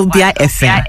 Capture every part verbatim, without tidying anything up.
Wazobia F M.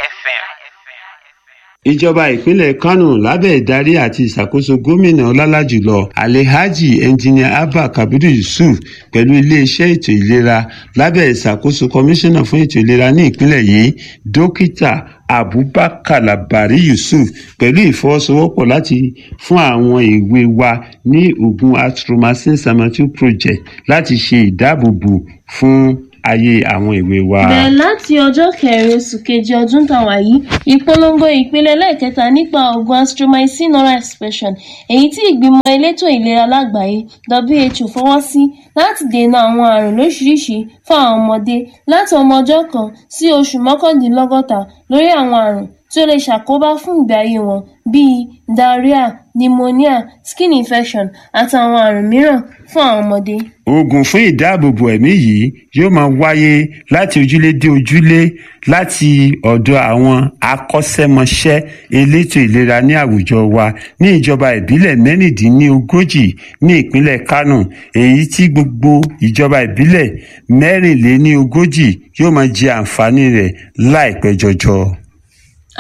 Ìjọba ìpínlẹ̀ Kánò lábẹ́ ìdarí àti ìṣàkóso gómìnà ọlọ́lá jùlọ Alhaji Engineer Abba Kabir Yusuf pẹ̀lú iléeṣẹ́ ètò ìlera lábẹ́ ìṣàkóso kọmíṣánná fún ètò ìlera ní ìpínlẹ̀ yìí, Dókítà Abubakar Labari Yusuf, pẹ̀lú ìfọwọ́sowọ́pọ̀ láti fún àwọn èwe wa ní oògùn Azithromycin Samantu Project láti ṣe ìdáàbòbò fún ayé àwọn èwe wa. Bẹ̀rẹ̀ láti ọjọ́ kẹrin oṣù keje ọdún tá a wà yìí, ìpolongo ìpele ẹlẹ́ẹ̀kẹta nípa oògùn azithromycin oral suspension, èyí tí ìgbìmọ̀ elétò ìlera lágbàáyé W H O fọwọ́ sí láti dènà àwọn àrùn lóríṣiríṣi fún àwọn ọmọdé láti ọmọ ọjọ́ kan sí oṣù mọ́kàndínlọ́gọ́ta lórí àwọn àrùn tí ó lè ṣàkóbá fún ìgbé ayé wọn bíi diarrhea, pneumonia, skin infection àtàwọn àrùn mìíràn fún àwọn ọmọdé. Oògùn fún ìdáàbòbò ẹ̀mí yìí yóò máa wáyé láti ojúlé dé ojúlé láti ọ̀dọ̀ àwọn akọ́ṣẹ́mọṣẹ́ elétò ìlera ní àwùjọ wa ní ìjọba ìbílẹ̀ mẹ́rìndínlógójì ní ìpínlẹ̀ Kánò, èyí tí gbogbo ìjọba ìbílẹ̀ mẹ́rìnléníogójì yóò máa jẹ àǹfààní rẹ̀ láìpẹ́ jọjọ.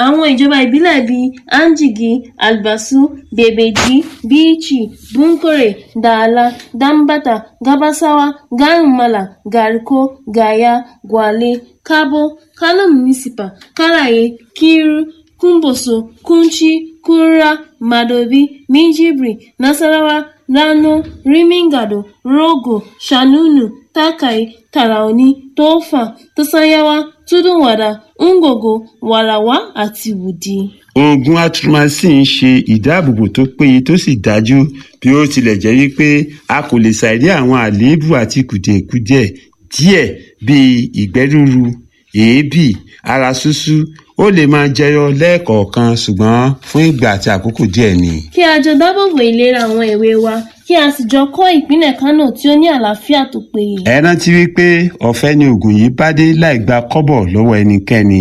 Àwọn ìjọba ìbílẹ̀ bíi Anjigi, Albasu, Bebeji, Bichi, Bunkure, Dala, Dambata, Gabasawa, Garin Mallam, Garko, Gaya, Gwale, Kabo, Kano Municipal, Karaye, Kiru, Kumbotso, Kunchi, Kura, Madobi, Minjibir, Nasarawa, Rano, Rimin Gado, Rogo, Shanunu, Takai, Taraoni, Tofa, Tsanyawa, Tudun Wada, Ungogo, Warawa àti Wudil. Oògùn Azithromycin ń ṣe ìdáàbòbò tó péye tó sì dájú, bí ó tilẹ̀ jẹ́ wípé a kò lè ṣàìrí àwọn àléébù àti kùdìẹ̀kudiẹ díẹ̀ bíi ìgbẹ́ rúru, èébì, ara ṣúṣú. Ó lè máa jẹyọ lẹ́ẹ̀kọ̀ọ̀kan, ṣùgbọ́n fún ìgbà àti àkókò díẹ̀ ni. Kí a jọ dáàbòbò ìlera àwọn èwe wa, kí a sì jọ kọ́ ìpínlẹ̀ Kánò tí ó ní àlàáfíà tó péye. Ẹ rántí wípé ọ̀fẹ́ ni oògùn yìí bá dé láì gba kọ́bọ̀ lọ́wọ́ ẹnikẹ́ni.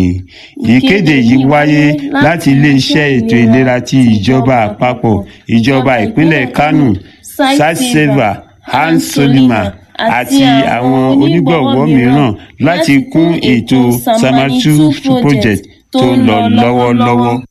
Ìkéde yìí wáyé láti iléeṣẹ́ ètò ìlera ti ìjọba àpapọ̀, ìjọba ìpínlẹ̀ Kánò, Sightsavers, Hans Solima àti àwọn onígbọ̀wọ́ mìíràn láti kún ètò Samantu Project tó ń lọ lọ́wọ́lọ́wọ́.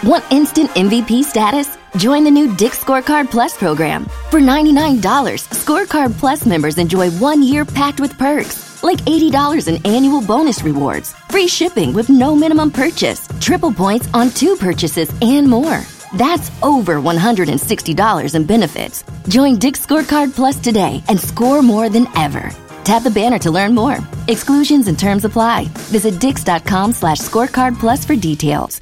Want instant M V P status? Join the new Dick's Scorecard Plus program. For ninety-nine dollars, Scorecard Plus members enjoy one year packed with perks, like eighty dollars in annual bonus rewards, free shipping with no minimum purchase, triple points on two purchases, and more. That's over one hundred sixty dollars in benefits. Join Dick's Scorecard Plus today and score more than ever. Tap the banner to learn more. Exclusions and terms apply. Visit dicks dot com slash scorecard plus for details.